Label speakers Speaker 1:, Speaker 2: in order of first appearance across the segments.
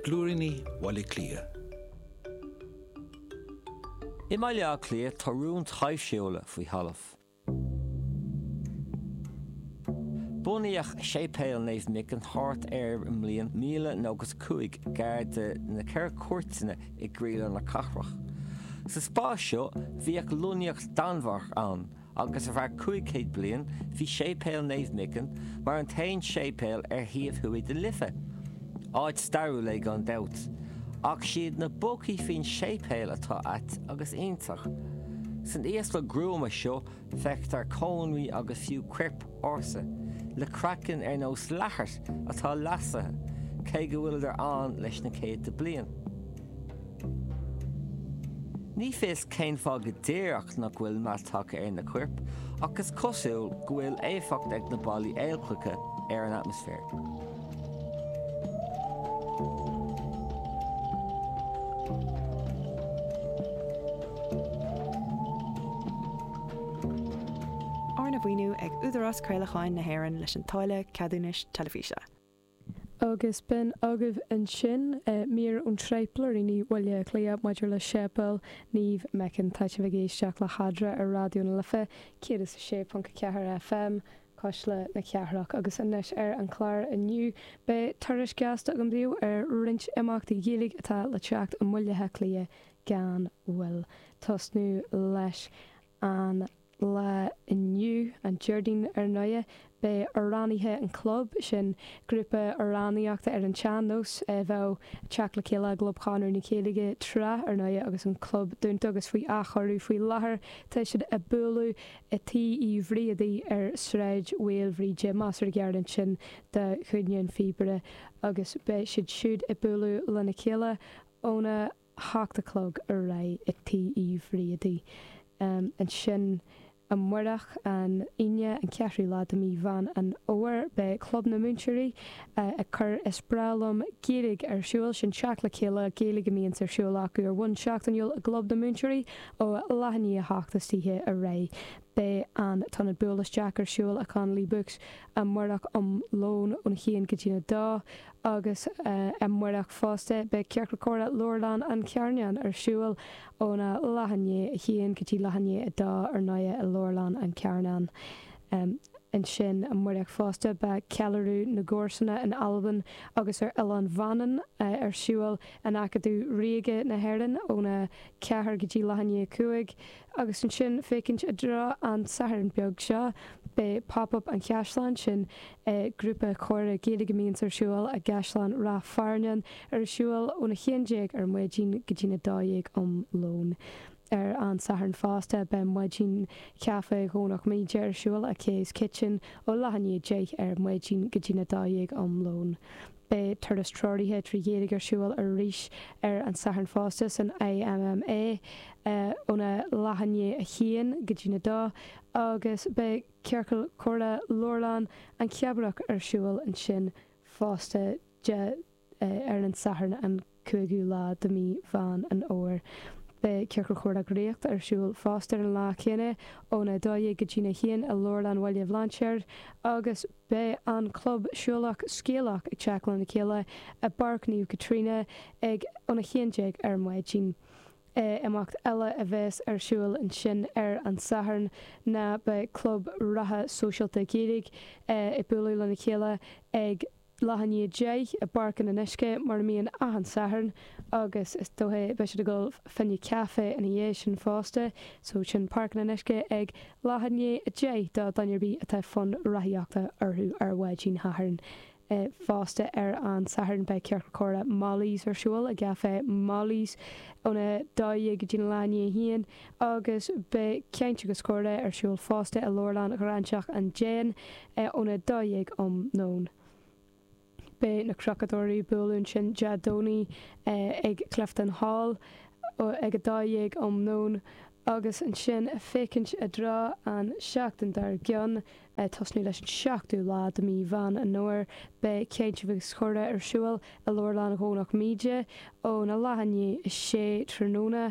Speaker 1: Blúiríní Bhaile Átha Cliath.
Speaker 2: I mBaile Átha Cliath tá rún taibhsiúla faoi thalamh. Bunaíodh Séipéal Naomh Michan thart ar an mbliain 1095 gar do na Ceithre Cúirteanna i gcroílár na cathrach. Sa spás seo bhíodh lonnaíocht Danmhargach ann agus ar feadh 500 bliain bhí Séipéal Naomh Michan mar an t-aon séipéal ar thaobh thuaidh den Life. Áit stairiúil é gan dabht, ach siad na bócaí faoin séipéal atá ait agus iontach. San íoslach gruama seo feictear cónraí agus fiú coirp ársa, le craiceann ar nós leathair atá leasaithe, cé go bhfuileadar ann leis na céadta bliain. Ní fios cén fáth go díreach nach bhfuil meath tagtha ar na coirp, ach is cosúil go bhfuil éifeacht ag na ballaí aolchloiche ar an atmaisféar.
Speaker 3: Arna mhaoiniú ag Údarás Craolacháin na hÉireann leis an táille ceadúnais teilifíse.
Speaker 4: Agus b'in agaibh ansin mír ón tsraith Blúiríní Bhaile Átha Cliath maidir le Séipéal Naomh Michan. Tá sibh ag éisteacht le hEadra ar Raidió na Life 106.4 FM, Cuisle na Cathrach. Agus anois ar an chlár inniu beidh tuairisc gheasta agam daoibh ar roinnt imeachtaí Gaeilge atá le teacht i mBaile Átha Cliath gan mhoill. Tosnú leis an lá inniu, an Déardaoin ar ndóighe, beidh Amhránaithe an Chlub, sin grúpa amhránaíochta ar an tsean-nós a bheadh ag teacht le chéile i gClub Chonradh na Gaeilge tráth, ar ndóighe, agus an club dúnta agus faoi athchóiriú faoi láthair. Tá siad ag bualadh i Tí Uí Bhriadaí ar Sráid Mhaoilbhríde, measartha gar ansin do Chúinne an Phíobaire, agus beidh siad siúd ag bualadh lena chéile óna. 8 a chlog ar aghaidh i Tí Uí Bhriadaí. Ansin amárach, an Aoine, an ceathrú lá de mhí Mheán an Fhómhair, beidh Club na Múinteoirí ag cur Is Breá Liom Gaeilge ar siúl. Sin teacht le chéile Gaeilge a mbíonns ar siúl acu ar bhonn seachtainiúil i gClub na Múinteoirí ó leath i ndiaidh a hocht istoíche ar aghaidh. Beidh an t-ionad Buail Isteach ar siúl i Connolly Books amárach um lón óna haon go dtína dó. Agus amárach fosta, beidh Ciorcal Comhrá Leabharlann an Charnáin ar siúl óna leath i ndiaidh a haon go dtí leath i ndiaidh a dó ar ndóighe i Leabharlann an Charnáin. Ansin amárach fosta, beidh Ceiliúradh na gComharsana in Albain agus ar Oileán Mhanann ar siúl in Acadamh Ríoga na hÉireann óna ceathair go dtí leath i ndiaidh a cúig. Agus ansin, féachaint i dtreo an tSathairn beag seo, beidh Pop Up an Chaisleáin, sin grúpa comhrá Gaeilge a mbíonns ar siúl i gCaisleán Ráth Fearnáin, ar siúl óna 11 ar maidin go dtína 12 um lón. Ar an Satharn fosta, beidh maidin chaife Dhomhnach Míde ar siúl i Kay's Kitchen ó leath i ndiaidh 10 ar maidin go dtína 12 um lón. Beidh turas treoraithe 3 Ghaeilge ar siúl arís ar an Satharn fosta san IMMA óna leath i ndiaidh a haon go dtína dó agus beidh Ciorcal Comhrá Leabharlann an Cheabarach ar siúl ansin fosta de ar an Satharn an 5ú lá de mhí Mheán an Fhómhair. Beidh Ciorcal Comhrá Draíochta ar siúl fosta ar an lá céanna óna 12 go dtína haon i Leabharlann Bhaile Bhlainséir agus beidh an Club Siúlach Scéalach ag teacht lena chéile i bPáirc Naomh Caitríona ag óna 11 ar maidin. Imeacht eile a bheas ar siúl ansin ar an Satharn ná beidh Club Reatha Sóisialta Gaeilge ag bualadh lena chéile ag leath i ndiaidh 10 i bPáirc an Fhionnuisce mar a mbíonn achan Satharn agus is dóiche beidh siad ag dul fá choinne caife ina dhiaidh sin fosta. So sin Páirc an Fhionnuisce ag leath i ndiaidh 10 do dhuine ar bith atá fonn rothaíochta orthu ar mhaidin Shathairn. Fosta ar an Satharn beidh Ciorcal Comhrá Molly's ar siúl i gCaifé Molly's óna 12 go dtí leath i ndiaidh a haon agus beidh Caint agus Comhrá ar siúl fosta i Leabharlann Ghráinseach an Déin óna 12 um nóin. Beidh na Crochadóirí ag bualadh ansin Dé Domhnaigh ag Clifton Hall ag 12 um nóin agus ansin féachaint i dtreo an seachtain dár gcionn, tosnú leis an seachtú lá de mí Mheán an Fhómhair, beidh Caint agus Comhrá ar siúl i Leabharlann Dhomhnach Míde óna leath i ndiaidh a sé tráthnóna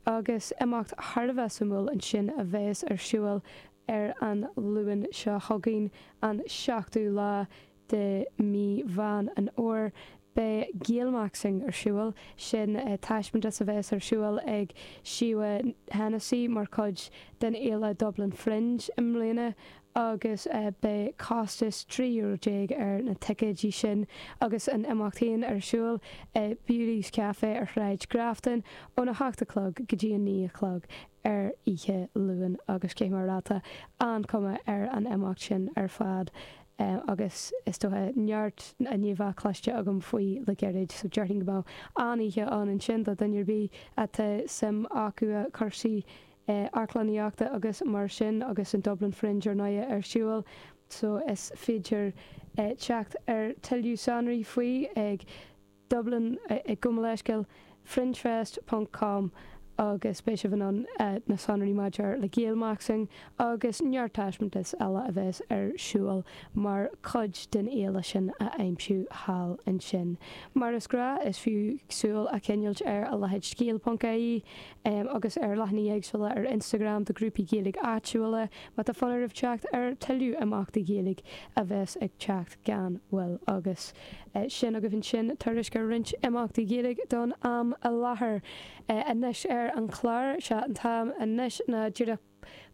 Speaker 4: agus imeacht thar a bheith suimiúil ansin a bheas ar siúl Ar an Luan seo chugainn, an seachtú lá de mhí Mheán an Fhómhair, Beidh Gaelmaxxing ar siúl, sin taispeántas a bheas ar siúl ag Síomha Hennessy mar chuid den fhéile Dublin Fringe i mbliana agus beidh costas €13 ar na ticéidí sin agus an imeacht féin ar siúl i Beauty's Café ar Shráid Grafton óna hocht a chlog go dtí a 9 a chlog ar oíche Luain agus cé mar atá an-chuma ar an imeacht sin ar fad agus is dócha neart a ní bheadh cloiste agam faoi le gairid so déarfainn go mbeadh an-oíche ann ansin do dhuine ar bith atá suim acu i cúrsaí amharclannaíochta agus mar sin agus an Dublin Fringe ar ndóighe ar siúl so is féidir teacht ar tuilleadh sonraí faoi ag Dublin gabh mo leithscéal, fringefest ponc com agus beidh sibh in ann na sonraí maidir le Gaelmaxxing agus neart taispeántas eile a bheas ar siúl mar chuid den fhéile sin a aimsiú thall ansin. Mar is gnáth, is fiú súil a choinneáilt ar a leithéid scéal ponc ie agus ar leathanaigh éagsúla ar Instagram do ghrúpaí Gaeilge áitiúla má tá fonn oraibh teacht ar tuilleadh imeachtaí Gaeilge a bheas ag teacht gan mhoill agus Sin agaibh ansin tuairisc ar roinnt imeachtaí Gaeilge don am i láthair. Anois ar an chlár, sé an t-am anois ná díreach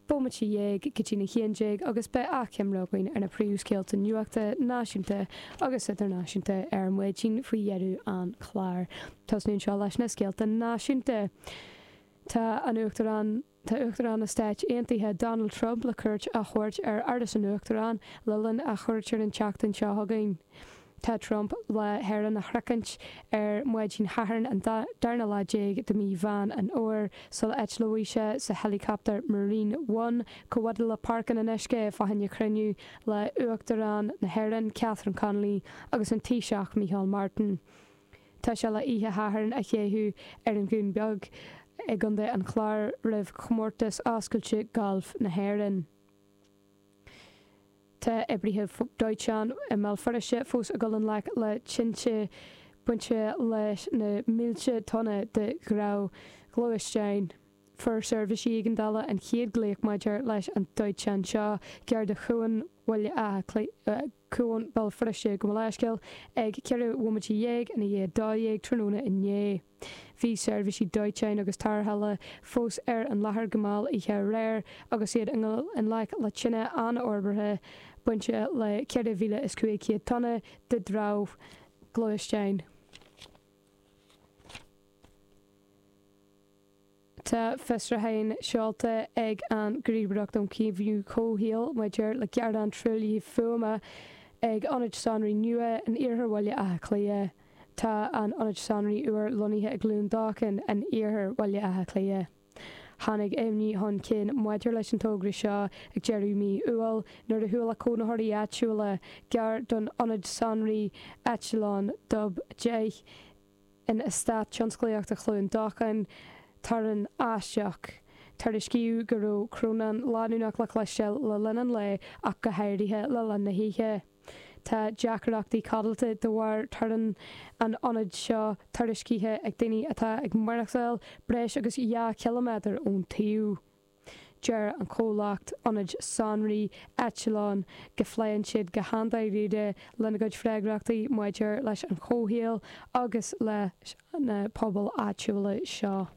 Speaker 4: bomaite dhéag go dtí'n 11 agus beidh achoimre againn ar na príomhscéalta nuachta náisiúnta agus idirnáisiúnta ar maidin faoi dheireadh an chláir. Tosnú anseo leis na scéalta náisiúnta. Tá an Uachtarán. Tá Uachtarán na Stáit Aontaithe Donald Trump le cuairt a thabhairt ar Áras an Uachtaráin le linn a chuairt ar an tseachtain seo chugainn. Tá Trump le hÉirinn a shroichint ar maidin Shathairn an darna lá déag de mhí Mheán an Fhómhair sula eitleoidh sé sa heileacaptar Marine One chomh fada le Páirc an Fhionnuisce fá choinne cruinniú le Uachtarán na hÉireann Catherine Connolly agus an Taoiseach Micheál Martin. Tá sé le oíche Shathairn a chaitheamh ar an Dhún Beag i gContae an Chláir roimh Chomórtas Oscailte Gailf na hÉireann. Tá oibrithe dóiteáin i mBéal Feirste fós ag dul i ngleic le tinte bainte leis na mílte tonna de dhramhghluaisteáin. Fuair seirbhísí éigeandála an chéad ghlaoch maidir leis an dóiteán seo gar do Chuan Bhaile Átha Cliath, Cuan Bhéal Feirste, gabh mo leithscéal, ag 14 bhomaite i ndiaidh 12 tráthnóna inné. Bhí seirbhísí dóiteáin agus tarrthála fós ar an láthair go mall oíche aréir agus iad i ngleic le tine an-fhorbartha bainte le 4,500 tonna de dhramhghluaisteáin. Tá fiosrúchán seolta ag an Ghníomhaireacht um Chaomhnú Comhshaoil maidir le gearán truaillithe fuaime ag ionad sonraí nua in iarthar Bhaile Átha Cliath. Tá an ionad sonraí úr lonnaithe i gCluain Dolcáin in iarthar Bhaile Átha Cliath. Tháinig imní chun cinn maidir leis an togra seo ag deireadh mhí Iúil nuair a chuala cónaitheoirí áitiúla gar don ionad sonraí eitleán Dub 10 In Eastát Tionsclaíochta Chluain Dolcáin, torann aisteach. Tuairiscíodh go raibh crónán leanúnach le cloisteáil le linn an lae ach go háirithe le linn na hoíche. Tá deacrachtaí codlata de bharr torann an ionaid seo tuairiscithe ag daoine atá ag maireachtáil breis agus 2 chiliméadar ón tsuíomh. Deir an comhlacht ionaid sonraí Eitleán go phléann siad go han-dáiríre lena gcuid freagrachtaí maidir leis an chomhshaol agus leis na pobail áitiúla seo.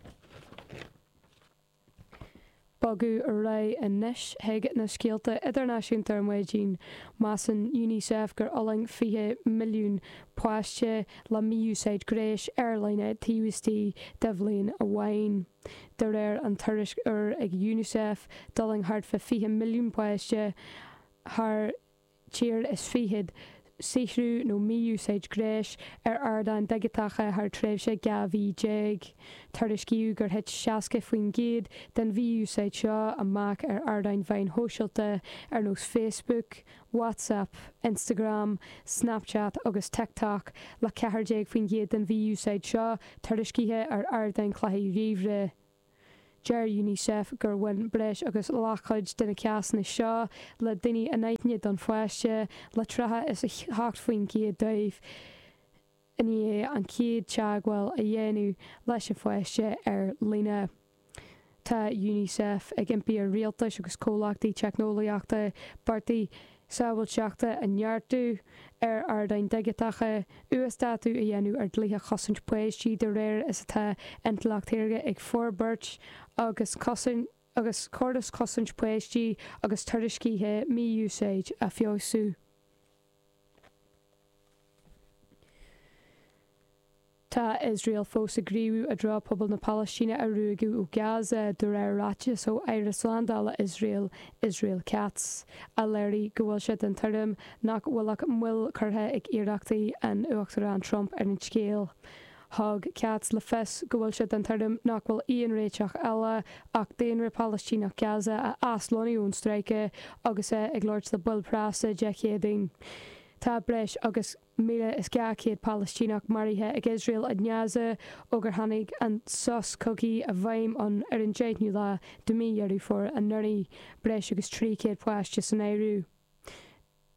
Speaker 4: Bogadh ar aghaidh anois chuig na scéalta idirnáisiúnta ar maidin. Measann Unicef gur fhulaing 20 milliún páiste le mí-úsáid gnéis ar líne taobh istigh de bhliain amháin. De réir an tuairisc úr ag Unicef, d'fhulaing thart fá 20 milliún páiste thar tír is fichead saothrú nó mí-úsáid gnéis ar ardáin dhigiteacha thar tréimhse 12 mhí. Tuairiscíodh gur thit 60% den mhí-úsáid seo amach ar ardáin mheáin shóisialta ar nós Facebook, WhatsApp, Instagram, Snapchat agus TikTok, le 14% den mhí-úsáid seo tuairiscithe ar ardáin chluichí ríomhaire. Deir Unicef gur bhain breis agus leathchuid de na cásanna seo le daoine anaithnide don pháiste, le 38% dóibh i ndiaidh an chéad teagmháil a dhéanamh leis an pháiste ar líne. Tá Unicef ag impí ar rialtais agus comhlachtaí teicneolaíochta bearta. sábháilteachta a neartú ar ardáin dhigiteacha, uasdátú a dhéanamh ar dlíthe chosaint páistí de réir is atá intleacht shaorga ag forbairt agus cosaint agus córas cosaint páistí agus tuairiscithe mí-úsáid a feabhsú. Tá Iosrael fós ag gníomhú i dtreo pobal na Palaistíne a ruaigeadh ó Gaza, de réir ráiteas ó Aire Slándála Iosrael, Israel Katz, a léirigh go bhfuil sé den tuairim nach bhfuil ach moill curtha ag iarrachtaí an Uachtaráin Trump ar an scéal. Thug Katz le fios go bhfuil sé den tuairim nach bhfuil aon réiteach eile ach daonra Palaistíneach Gaza a aslonnú ón stráice agus é ag labhairt le baill preasa Dé Céadaoin. Tá breis agus 1,200 Palaistíneach maraithe ag Iosrael i nGaza ó gur tháinig an sos cogaidh i bhfeidhm ann ar an 10ú lá de mhí Dheireadh Fómhair anuraidh, breis agus 300 páiste san áireamh.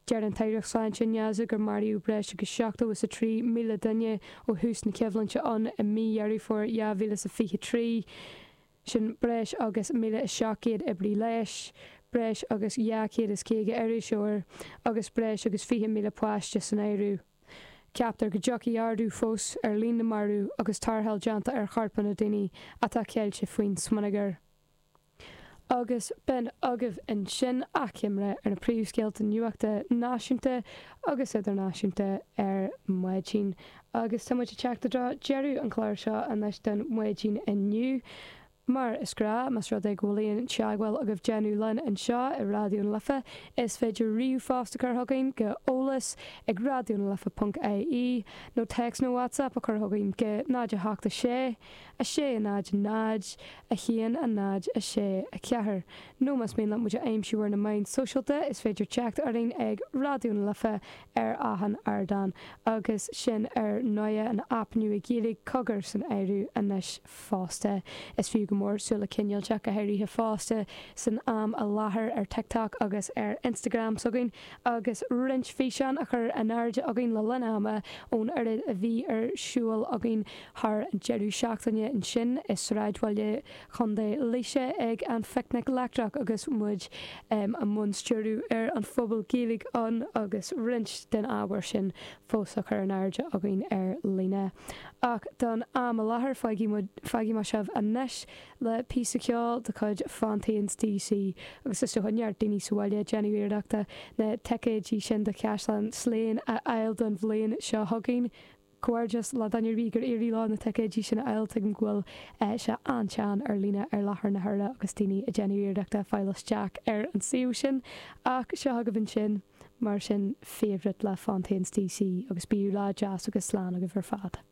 Speaker 4: Deir an tAireacht Sláinte i nGaza gur maraíodh breis agus 73,000 duine ó thús na coimhlinte ann i mí Dheireadh Fómhair 2023. Sin breis agus 1,700 oibrí leighis, breis agus 250 iriseoir agus breis agus 20,000 páiste san áireamh. Ceaptar go dtiocfaidh ardú fós ar líon na marbh agus tarrtháil déanta ar chorpanna daoine atá ceilte faoin smionagar. Agus b'in agaibh ansin achoimre ar na príomhscéalta nuachta náisiúnta agus idirnáisiúnta ar maidin. Agus tá muid ag teacht i dtreo deireadh an chláir seo anois don mhaidin inniu. Mar is gnáth, más rud é go bhfuil aon teagmháil agaibh déanamh linn anseo i Raidió na Life, is féidir ríomhphost a chur chugainn go eolas ag raidionalife ponc ie nó téacs nó WhatsApp a chur chugainn go 0 8 6 6 0 0 1 0 6 4. Nó más mian leat muid a aimsiú ar na meáin sóisialta, is féidir teacht orainn ag Raidió na Life ar achan ardán, agus sin ar ndóighe an aip nua Gaeilge Cogar san áireamh anois fosta. Is fiú go mór súil a choinneáil, go háirithe fosta san am i láthair ar TikTok agus ar Instagram s'againn agus roinnt físeán á chur in airde againn le linn ama ón oiread a bhí ar siúl againn thar an deireadh seachtaine ansin i sráidbhaile Chontae Laoise ag an Phicnic Leictreach agus muid i mbun stiúradh ar an phuball Gaeilge ann agus roinnt den ábhar sin fós á chur in airde againn ar líne. Ach don am i láthair fágfaidh mé sibh anois le píosa ceoil de chuid Fontaines DC agus is dócha neart daoine sa bhaile ag déanamh iarrachta na ticéidí sin do Chaisleán Slane a fháil don bhliain seo chugainn. Comhghairdeas le duine ar bith gur éirigh leo na ticéidí sin a fháil, tuigim go bhfuil sé an-teann ar líne ar láthair na huaire agus daoine ag déanamh iarrachta fáil isteach ar an suíomh sin. Ach seo agaibh ansin, mar sin, Favourite le Fontaines DC agus bíodh lá deas agus slán agaibh ar fad.